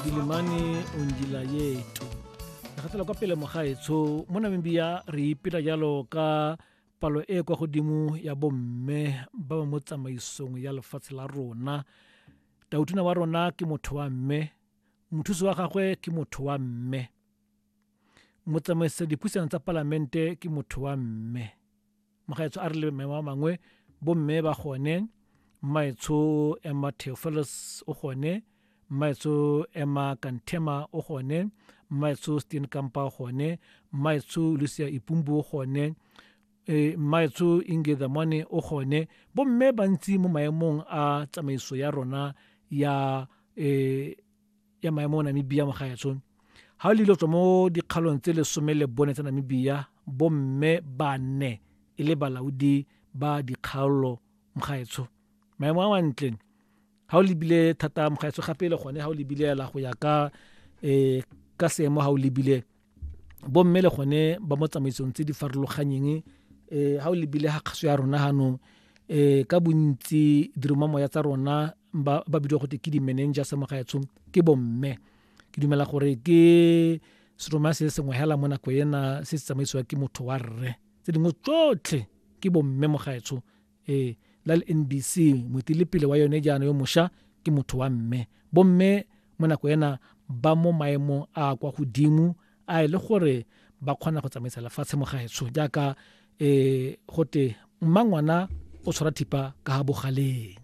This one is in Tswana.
Ndilimane Ondila Yetu. Re gatela kwa pele mogaetsho mo Namibia re ipela jalo ka palo e kwa godimo ya bomme ba ba mo tsamaisong ya lefatshe la rona. Tautona wa rona ke motho wa mme, mothusi wa gagwe ke motho wa mme, motsamaisa dipuisano tsa palamente ke motho wa mme. Mogaetsho a re le maemo a mangwe bomme ba gone, mmaetsho Emma Theophilus o gone, mmaetsho Emma Kantema o gone, mmaetsho Steenkamp o gone, mmaetsho Lucia Ipumbu o gone, mmaetsho Inge Dhamane o gone. Bomme bantsi mo maemong a tsamaiso ya rona ya ya maemo a Namibia mogaetsho. Ha o le tswa mo dikgalong tse 14 tsa Namibia, bomme bane e le balaodi ba dikgaolo mogaetsho. Maemo a mantle ha o lebile thata mogaetsho, gape le gone ha o lebile la go ya ka ka seemo, ha o lebile bomme le gone ba mo tsamaisong tse di farologanyeng, ha o lebile ha kgaso ya rona hanong, ka bontsi diromamoya tsa rona ba bidiwa gote ke di-manager sa mogaetsho ke bomme. Ke dumela gore ke seroma se sengwe hela mo nako ena se se tsamaisiwa ke motho wa rre, tse dingwe tsotlhe ke bomme mogaetsho. La le NBC moeteledipele wa yone jaana yo mošwa ke motho wa mme. Bomme mo nako ena ba mo maemong a kwa godimo a e le gore ba kgona go tsamaisa lefatshe mogaetsho, jaaka gote mmangwana o tshwara thipa ka ha bogaleng.